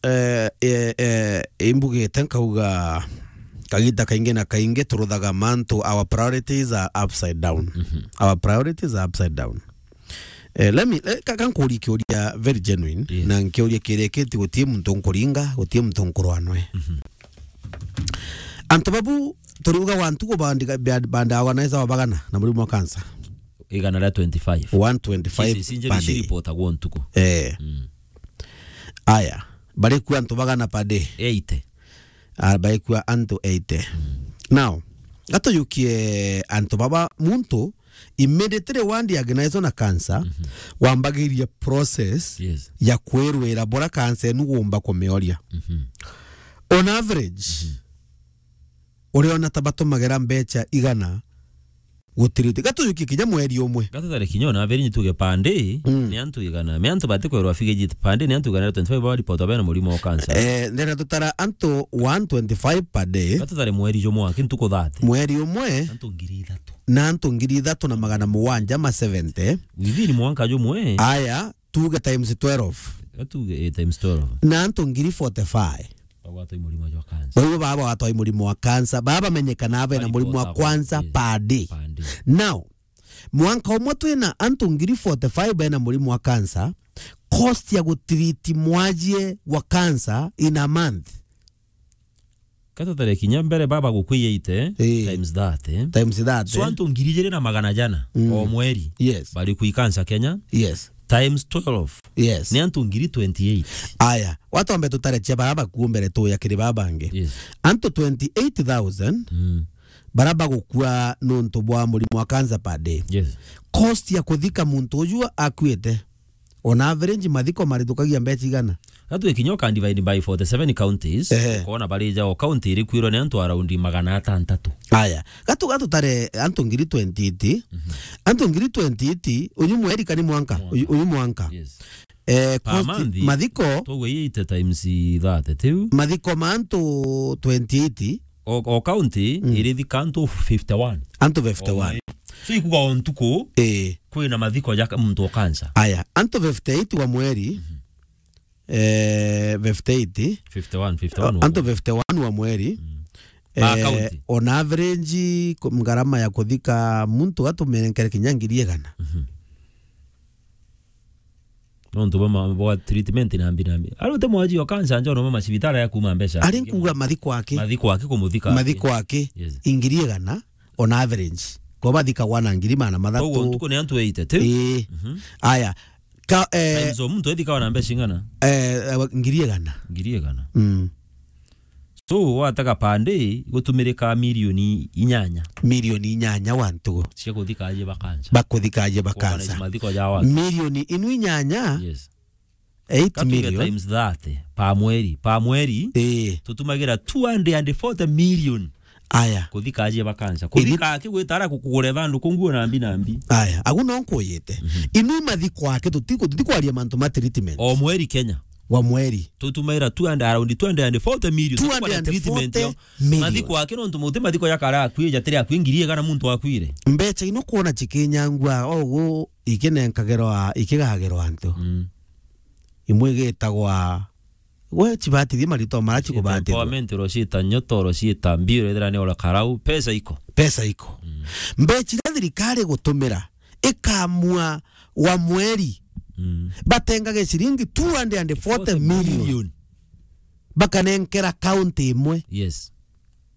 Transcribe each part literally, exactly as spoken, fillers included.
eh, eh, eh, imbugite nkauga, kagita kaingi na kaingi turuthaga mantu, our priorities are upside down. Our priorities are upside down. Eh, let me, eh, ka, ka nkurie kiuria very genuine, Yes. na nkiuria kirikiti, gutie muntu nkuringa, gutie muntu nkurwanwe. Antu babu turiuga wa ntuku bandi-, bandi-, bandawa na isa wa bagana na murimo wa cancer. Igana ria twenty-five. One twenty-five Cases injury per day. Ciripotagwo ntuku. Eh. Mm. Aya, barikua antu bagana per day. Eighty. Ah, barikua antu eighty. Mm. Now, gatujukie antu baba, muntu immediately wandiagnaizwa na cancer, wambagiria process Yes. ya kwirwira bora cancer enu gumba kumioria. On average, uriona ta batumagera mbecha igana gutiriti. Gatujukie kinya mweri umwe. Gatutare kinya ona average tuge per day, Mm. ni antu igana. Me antu batikwerwa figure pande ni antu igana twenty-five bari poto bena murimo wa cancer. Eh, ndenda tutara antu one twenty-five per day. Gatutare mweri jumwe, aki ntuku thirty. Mweri umwe. Antu ngiri ithatu. Na antu ngiri ithatu na magana mugwanja ma seventy. Within mwanka jumwe. Aya, tuge times twelve. Atuge, eh, times twelve. Na antu ngiri forty-five. Bagwatwa i murimo jwa cancer. Bau baba bagwatwa i murimo wa cancer. Baba bamenyekana bena murimo wa cancer per day. Per day. Now, mwanka umwe twina antu ngiri forty-five bena murimo wa cancer, cost ya gutiriti mwajie wa cancer in a month. Katutare kinya mbere baba gukwiyaite, Eh. times that, eh. Times that, So eh. antu ngiri ijiri na magana jana Mm. o mweri. Yes. Bari kwi cancer Kenya. Yes. Times twelve. Yes. Ni antu ngiri twenty-eight. Aya, watombe tutare cia bara bakuo mbere tuya kiri baba bangi. Yes. Antu twenty-eight thousand Mm. bara bagukua nuntu bwa murimo wa cancer per day. Yes. Cost ya kuthika muntu uju akuite, on average, mathiko marithukagia mbecha igana? Gatwe kinya uka divide by forty-seven counties, Ehe. ukona barija o county irikwirwa ni antu around magana atantatu. Aya, gatu, gatu tare antu ngiri twenty-eight, antu ngiri twenty-eight, uyu mweri kani mwanka? Mwanka. Uyu, uyu mwanka. Yes. Eh, Per cost, month, mathiko, tugwe eighty times thirty, tiu? Mathiko ma antu twenty-eight, O, o county Mm. irithika antu fifty-one. Antu fifty-one. O mweri. So ikuga o ntuku, Eh. kwina mathiko ja ka-, muntu o cancer. Aya, antu fifty-eight wa mweri, eh, fifty-eight. Fifty-one, fifty-one wa Antu mweri. fifty-one wa mweri. Mm. Per Eh, county. On average, ku-, ngarama ya kuthika muntu gatumerenkere kinya ngiri igana. Mhm. Nontu bwa ma-, bwa treatment na mbi na mbi. Ari uti mwaji o cancer njo no macibitara ya kuma mbeca. Ari nkuga mathiko aki. Mathiko aki kumuthika aki. Mathiko aki. Yes. Ingiri igana on average. Kwa bathikagwa na ngiri magana mathatu. Koguo ntuku ni antu eighty, tiu? Ii. Mhm. Aya. Ka, eh, Times o muntu ethikawa na mbeca ing'ana? Eh, eh, ngiri igana. Ngiri igana. Mm. So, watega per day, gutumirika milioni inyanya. Milioni inyanya wa ntugu. Cia kuthika aji ba cancer. Bakuthika aji ba Kuorganize cancer. Mathiko ja watu. Milioni inu inyanya? Yes. Eight million. Katuge times thirty per mweri. Per mweri, Ii. tutumagira two hundred and forty million. Aya. Kuthika aji ba cancer. Kuthika aki gwitara kukugure thanduku nguo na mbi na mbi. Aya. Agu no nkuyite. Mhm. Inu mathiko aki tutiku, tutikwaria mantu ma treatment. O mweri Kenya. Wa mweri. Tutumaira two hundred, around two hundred and forty million. Two hundred and forty million. Mathiko aki nontu muti mathiko jakara akui, jatiri akui ngiri igana muntu akwire. Mbecha ino kwona chikinyangwa, ogu ikinenkagirwa, ikigagirwa antu. Mm. Imwe igitagwa, we chibatithie marito mara chikubatithia. Empowerment, oro ciita nyoto, oro ciita mbio, ethira ni ora karau, pesa iko. Pesa iko. Mm. Mbecha iria thirikari gutumira ikamua wa mweri, Mm. batengage ciringi two hundred and forty million. Forty million. Bakanenkera county imwe. Yes.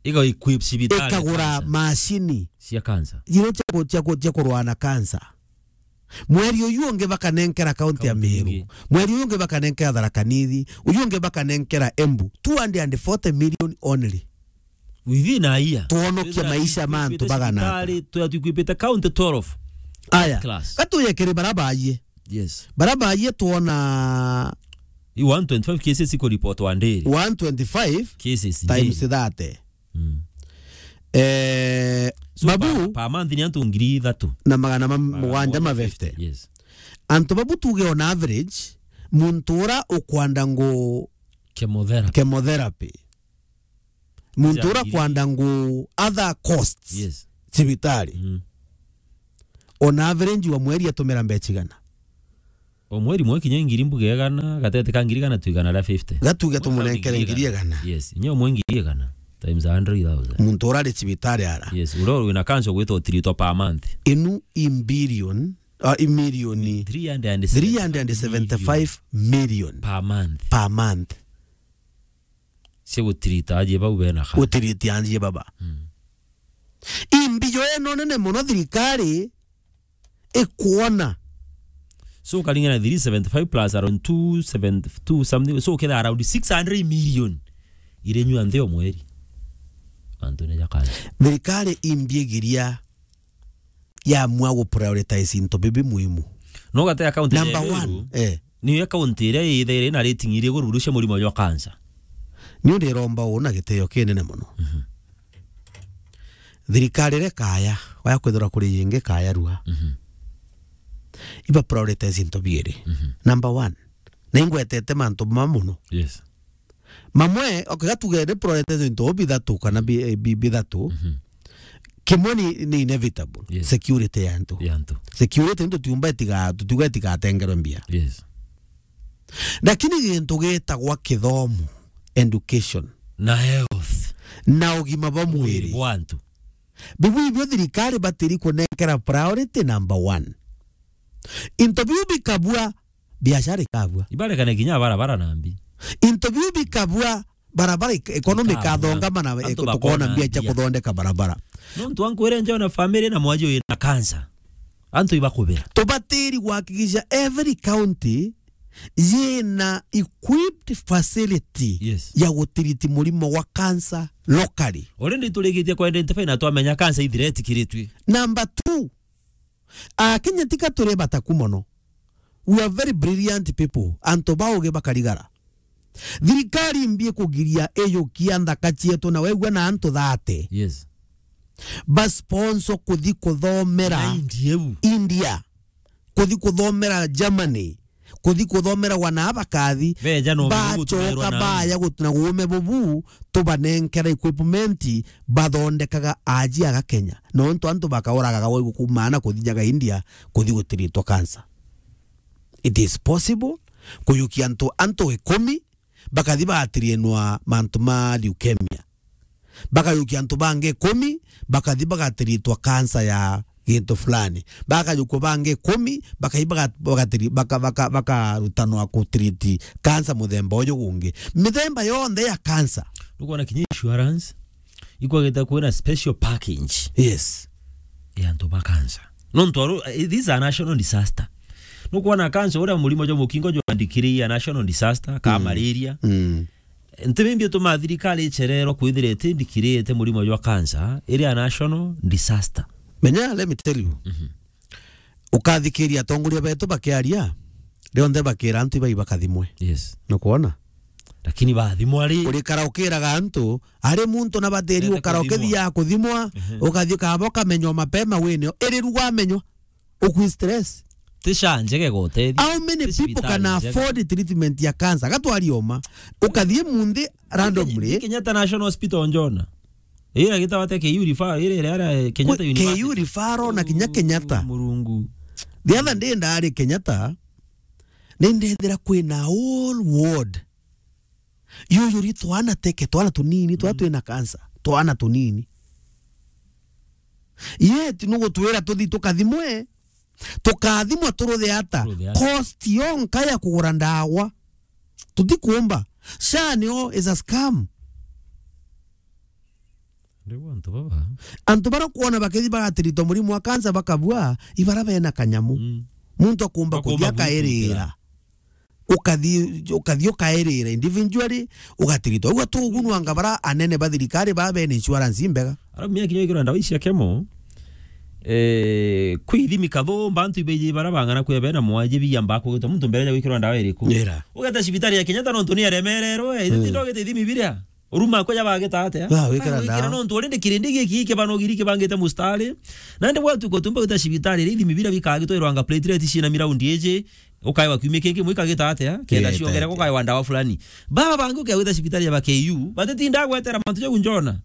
Iga equip cibitari Ikagura cancer. Macini. Cia cancer. Ino cia ku-, cia ku-, cia kurwana cancer. Mweri uyu ungi bakanenkera county ya County Meru. Ingi. Mweri uyu ungi bakanenkera Tharaka Nithi. Uyu ungi bakanenkera Embu. Two hundred and forty million only. Within a year. Twonokia maisha ma antu bagana ata. Twithira twikipite cibitari, twithira twikipite county twelve. Aya. Class. Gatuye kiri bara baayie. Yes. Bara baayie twona I one twenty-five cases iko report wa ndiri. One twenty-five cases times daily. Thirty. Mm. Eh, So, babu, per, per month ni antu ngiri ithatu. Na magana ma-, mugwanja ma fifty. Yes. Antu babu tuge on average, muntu ura ukwanda ngu Chemotherapy. Chemotherapy. Muntu ura kwanda ngu other costs. Yes. Cibitari. Mm. On average wa mweri atumira mbecha igana? O mweri mwe kinya ngiri mbuge igana, gatete ka ngiri igana tu igana ria fifty. Gatuge tumunenkere ngiri igana. Yes, nyo mwe ngiri igana times a hundred thousand. Muntu urari cibitari ara. Yes, uria wina cancer ugwitwa utiritwa per month. Inu i billion, ah, i milioni three hundred and seventy-five million per month. Per month. Cia gutirita aji bau bena cancer. Gutirita aji baba. Mm. I mbio ino nene muno thirikari ikwona. So ukaringana three seventy-five plus around two seventy-two something. So ukethira around six hundred million irenyua nthi o mweri. Antu ni jakana. Thirikari imbigiria yamua gu prioritize into bibi muhimu. No gate account number one, eh. Ni account iria ithaire na rating iria iguru cia murimo jwa cancer. Ni ndiromba uu na gitio kinene muno. Mhm. Thirikari iria kaya, waya kwithirwa kuri yingi kaya rua. Mhm. Iba prioritize into biiri. Mhm. Number one, na ingwetete mantu ma muno. Yes. Mamwe, okay, gatuge ni prioritize into bithatu kana bi-, eh, bi-, bithatu. Mhm. Kimwe ni, ni inevitable. Yes. Security ya antu. Ya antu. Security ndio tiumba itiga-, tutiuga itigatengerwe mbia. Yes. Lakini gintu gitagwa kithomo, education, na health, na ugima bwa mwiri bwa antu, bibu ibio thirikari batiri kunenkera priority number one. Into biu bikabua, biashara ikabua. Ibarekane kinya barabara na mbi. Into biu bikabua, barabara ik-, economy ikathongama na antu tukona bakona mbia cia mbia. Kuthondeka barabara. Nontu ankwire njo na family na mwaji uyu na cancer. Antu ibakubira. Tubatiri kuhakikisha every county yina equipped facility, yes, ya gutiriti murimo wa cancer locally. Already turikitie ku identify na twamenya cancer ithiretikiritwe. Number two, Akenya tika turi bataku mono. We are very brilliant people. Antu baugi bakarigara. Thirikari imbi kugiria iyukia nthaka cietu na wegua na antu thate. Yes. Ba sponsor kuthi kuthomera na India u. India. Kuthi kuthomera Germany. Kuthi kuthomera wana bakathi. Beja no bacoka na baya gut-, na guume bubu, tubanenkera equipment, bathondekaga aji aga Kenya. Nontu antu bakauragaga waigu kumaana kuthijaga India, kuthi gutiritwa cancer. It is possible kuyukia antu, antu ikumi, bakathi bagatirienwa mantu ma leukemia. Bakayukia antu bangi ikumi, bakathi bagatiritwa cancer ya gintu fulani. Bakayukua bangi ikumi, bakathi baga-, bagatiri-, baka-, baka-, bakarutanwa kutiriti cancer muthemba uju gungi. Mithemba yonthe ya cancer. Nukwona kinya insurance ikwagite kwina special package. Yes. Ya antu ba cancer. Nontu aru, eh, this is a national disaster. Nukwona cancer, uria murimo jwa mukingo jwandikiri a national disaster, ka malaria. Mm. Nti bimbi ituma thirikari icererwa kwithira itindikirite murimo jwa cancer iri a national disaster. Menya, let me tell you. Mhm. Ukathikiria atongoria betu bakiaria, rionthe bakira antu ibai bakathimwe. Yes. Nukwona? Lakini bathimwa ri? Urikara ukiraga antu, ari muntu na batiri ukara ukithia kuthimwa, ehe, ukathi ukaba ukamenywa mapema wini, iri ruga amenywa. Ukwi stress. Ti sha njege gotethia. How many people can afford treatment ya cancer? Gatwari oma. Ukathie munthi randomly. Kenyatta National Hospital njona. Ira gitawate K U refer-, ira, ira, ira Kenyatta University. K U referral na kinya Kenyatta. Murungu. The other day ndari Kenyatta, nindethira kwina whole ward. Yuyuri twana teke, twana tunini, twa twina cancer, twana tunini. Yet nugutwira tuthi tukathimwe, tukathimwa turuthe ata? Turuthe ata? Cost yonka ya kugura ndawa. Tutikumba. Sha nio is a scam. Riu antu baba. Antu bara kwona bakithi bagatiritwa murimo wa cancer bakabua, ibara bena kanyamu. Mm. Muntu akumba kuthi akairira. Ukathi, ukathi ukairira individually, ugatiritwa. Uga tugunwanga bara anene ba thirikari ba bena insurance imbega. Ara mia kinya ikirwa ndawa icia kemo. Eh, kwi ithimi kathumba antu ibeji bara bang'ana kwi bena mwaji biamba kugita muntu mbere ya gwikirwa ndawa iriku. Ugeta cibitari ya Kenyatta nontu ni aremererwe, ithimi biria. Uruma ko jabagita atia? Ba, wikira ndawa. Nontu already kirindi giki kibano giri kibangite mustari. Nandi bwatu ko tumba gwita cibitari, iri ithimi bira bikagitwa irwanga platelet cina miraundi iji, ukaewa kiumia kingi mwikagita atia? Kenda ciongere kukaewa ndawa fulani. Baba bangi ukia gwita cibitari ya ba K U, batitinda gwetera mantu jau njona.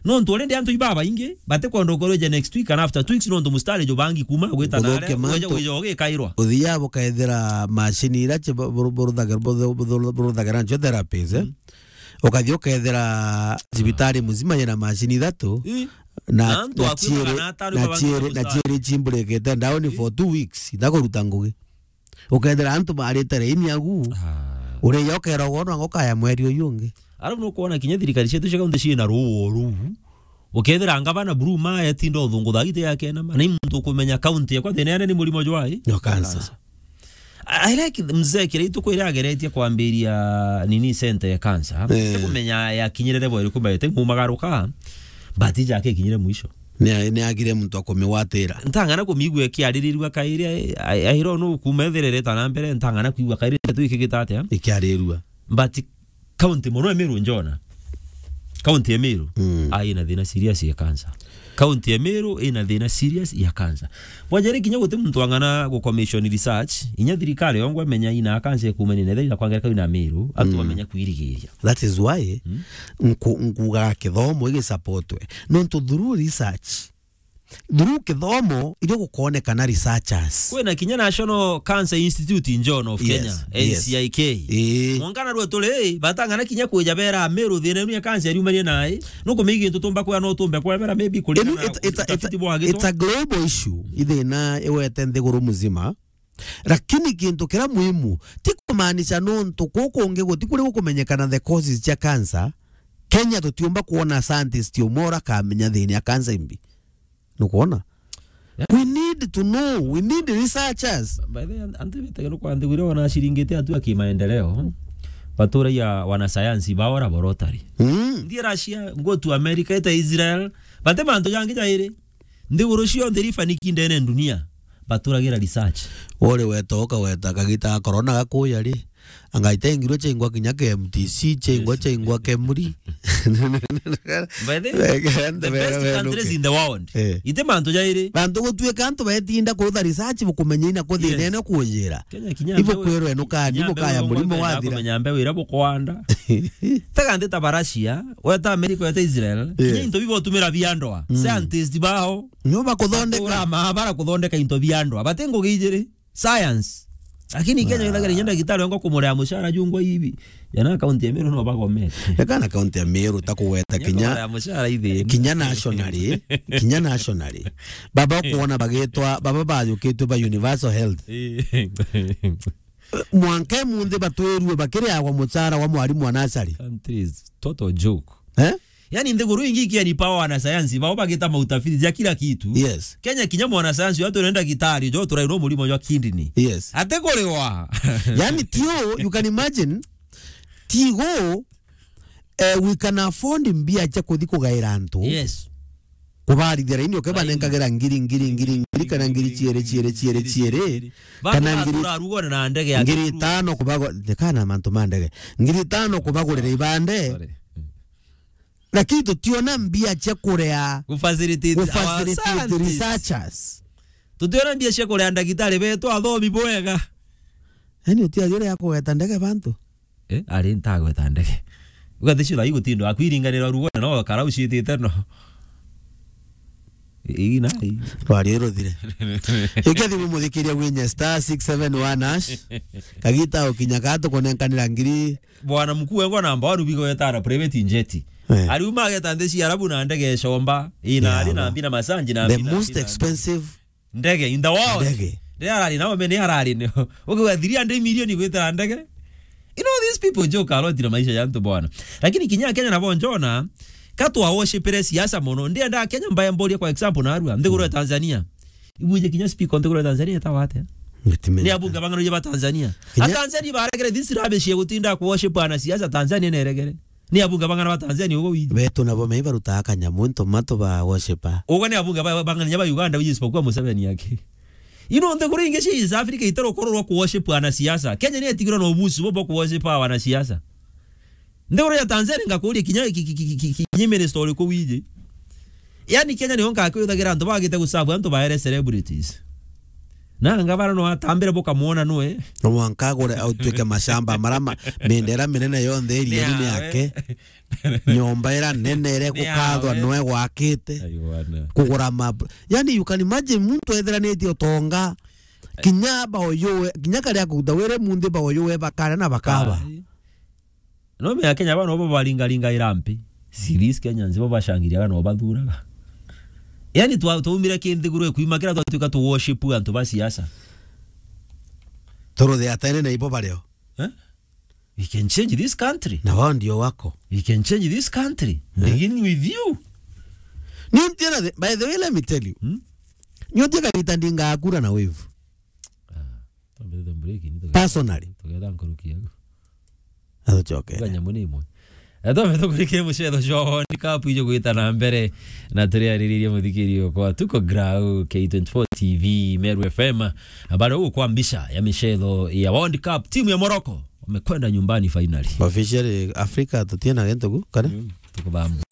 Nontu already antu ibabaingi, batikwenda ukorwo ije next week kana after two weeks, nontu mustari jubangi kuma gwita na Guthukia aria, mantu. Wija, wija ugikairwa. Uthiaga bukethira macini ira ci-, bu-, bu-, buruthage-, bu-, bu-, bu-, buruthagira ncio therapies, eh? Mm. Ukathi ukethira cibitari muzima yina macini ithatu, Ii. na, Na antu na akuimaga ciiri, na atano na ibabangi ciiri, na mustari. Ciiri cimburikite down Ii. for two weeks, itakuruta ngugi. Ukethira antu barite raini agu, Ah. uria ukeragwo no ngokaya mweri uyu ungi. Arabu nukwona kinya thirikari cietu cia kaunti ciina ruo ruu. Ukethira ngavana Blue ma etinda uthungutha giti yake na ma. Na i muntu ukumenya kaunti yakwa thina yane ni murimo jwai? No, cancer. Cancer. I, I like mzee kiria ituku iria ageretie kwambiria nini center ya cancer. Eh. Tikumenya yakinyire level iriku, but mumagaruka, but ija akikinyire mwisho. Ni, ni agire muntu akumiwatira. Ntang'ana kumigua ikiaririrua kairi, I, I, I don't know, kuma ethirereta na mbere, ntang'ana kwigua kairi tu ikigita atia. Ikiarirua. But county mono ya Meru njona. County ya Meru, Mm. ai na thina serious ya cancer. County ya Meru ina thina serious ya cancer. Bwajari kinya guti muntu ang'ana gu commission research, inya thirikari yongwa menya ina cancer kumania na thina kwangera kau na Meru, antu Mm. bamenya kwirigiria. That is why Mm. nku-, nkuga kithomo igisupportwe. Nontu through research, through kithomo, irio gukonekana researchers. Kwina kinya National Cancer Institute in John of Yes, Kenya, yes. N C I K. Ii. Mwangana rwe turi, batang'ana kinya kwija bera Meru thina inu ya cancer yumanie nai. Nukumigi ntu tumba kwa no tumbe kwa bera maybe kuri Inu na it's, it's, it's, utafiti bwa gitwa. It's a global issue. Ithina iwete nthiguru muzima. Lakini kintu kiria muhimu, ti kumaanisha nontu kuku kungi guti kuri gukumenyekana the causes cia cancer, Kenya tutiumba kuona scientist umwe urakamenya thina ya cancer imbi. Nukwona? Yeah. We need to know, we need researchers. By the way, antu bitege no kwa nthiguru wana ciringite atu ya kimaendeleo. Baturagia wanasayansi bao laboratory. Mm. Ndi Russia, go to America, ita Israel. Bate mantu jangi jairi. Nthiguru cionthe iri faniki ndene dunia, baturagira research. Uri weta ukaweta kagita ga corona gakuya ri, anga itengirwe chaingwa kinya K M T C, chaingwa, Yes. chaingwa Kemuri. By the way, Weke the best were countries nuke. in the world. Eh. Ite mantu jairi. Bantu gutuika antu betinda kurutha research bukumenya ina kuthi Yes. nene kujira. Kenya kinya Ibo mbewe-, kwirwe nukani kinya mbewe bukaya murimo bukenda wathira. Kumenya mbewe ira bukwanda. Tega nthi ta Russia, weta America, weta Israel, Yes. kinya into bibo tumira biandwa. Mm. Scientists bao. Nio bakuthondeka. Batura maabara kuthondeka into biandwa. Bate ngugi ijiri. Science. Lakini Kenya Ah. ithagire nyenda gitari ngo kumurea mushara jungwa hivi. Yana county ya Meru no bagomete. Eka na county ya Meru ta kugweta Kinya kinya, kumurea mushara ithi. kinya nationally, kinya nationally. Baba kuona bagitwa, baba bayukitwe ba universal health. Eh. Mwanka munthi batwirue bakiriagwa muchara wa mwarimu wa nasari. Countries, total joke. Eh? Yani, nthiguru ingi ikiani power wanasayansi bao bagita mautafiti ja kila kitu. Yes. Kenya kinya mwanasayansi watu nenda gitari jo turai no murimo jwa kidney. Yes. Ate kuriwa. Yani, tio, you can imagine, tigo, eh, we can afford mbia cia kuthi kugaira antu. Yes. Kubarithia raini, ukebanenkagira ngiri, ngiri, ngiri, ngiri, kana ngiri ciere, ciere, ciere, ciere. Kana ngiri, rugone na ndege ya ngiri tano kubago-, thekana mantu ma ndege. Ngiri tano kubagurira ibande. Sorry. Lakini tutiona mbia cia kurea, Gu facilitate our gu facilitate scientists. researchers. Tutiona mbia cia kurea ndagitari betu athomi bwega. Yani, utiathire ya kugeta ndege bantu. Eh, ari ntagweta ndege. Ugathi cira igutindo akwiringanira rugo no karau citite no. Ii, na, ii. Rwari ruthire. Ikia thimu muthikiria gwinya star six seven one hash. Kagita ukinya ka tukunenkanira ngiri. Bwana mkuu wengwa namba one bigo wetara private jet. Eh. Ariuma ageta nthi cia Arabu na ndege ecomba. Ina Yeah, ari na no. mbi na masanji na The mbi na most mbi na expensive Ndege in the world. Ndege. Riria arari nao, me ni arari ni. Ukiuga three hundred million gwitira ndege. You know, these people joke a lot na maisha ya antu bwana. Lakini kinya Kenya nabo njona, ka twa worshipire siasa mono. Ndienda Kenya mbaye mboria, kwa example, narua nthiguru ya Tanzania. Ibuje kinya speaker nthiguru ya Tanzania etagwa atia? Ni abunge bang'ana ba Tanzania. Kinya A Tanzania baregere this rubbish ya gutinda ku worship ana siasa, Tanzania neregere. Ni abunge bang'ana ba Tanzania ugo wiji. Betu nabo me barutaga kanyamu into matu ba worshiper. Ugo ni abunge ba, bang'ana ba Uganda wiji isipokuwa Museveni yake. You know, nthiguru ingi cia East Africa itari ukorwo rwa ku worship ana siasa. Kenya ni etigirwe na ubusi bo bwa ku worship wana siasa. Nthiguru ya Tanzania ngakuria kinya ki, ki, ki, ki, ki, kinya minister uriku wiji. Yani Kenya ni onka kwithagira antu bagite gusabu antu baere celebrities. Na ngavana no atambire bukamwona nwe. No mwanka agure au tuike mashamba marama, mindera minene yonthe iriani ni yake. Nyomba ira nene ire gukathwa nwe gwakite. Ai bwana. Kugura ma, yani, you can imagine muntu etheranitie utonga. Kinya baoyuwe, kinya karia kuta wire munthi baoyuwe bakara na bakaba. Ai. No me Kenya bano bo baringaringa irampi. Serious Kenyans bo bashangiria no bathuraga. Yani twa, twaumire kinthiguru kwima kira twatuika tu worship antu ba siasa. Toro the atene na ibo bareo. Eh? We can change this country. Na wao ndio wako. We can change this country. Eh? Begin with you. Ni mtiana the, by the way, let me tell you. Hmm? Nyote kabita ndinga akura na wave. Ah, tumbite break ni tuge-, personally. Tugetha nkuruki yaku. Atucoke. Tuga nyamu ni imwe. Ethome tukurikie mucetho jwa World Cup ijo gwita na mbere na turiariririe muthikiri okwa tuko Grau K twenty-four T V Meru F M. Habari huu kwa mbisha ya michezo ya World Cup, timu ya Morocco wamekwenda nyumbani finally. Officially Africa tutiena gento ku kare. Mm, tukubamba.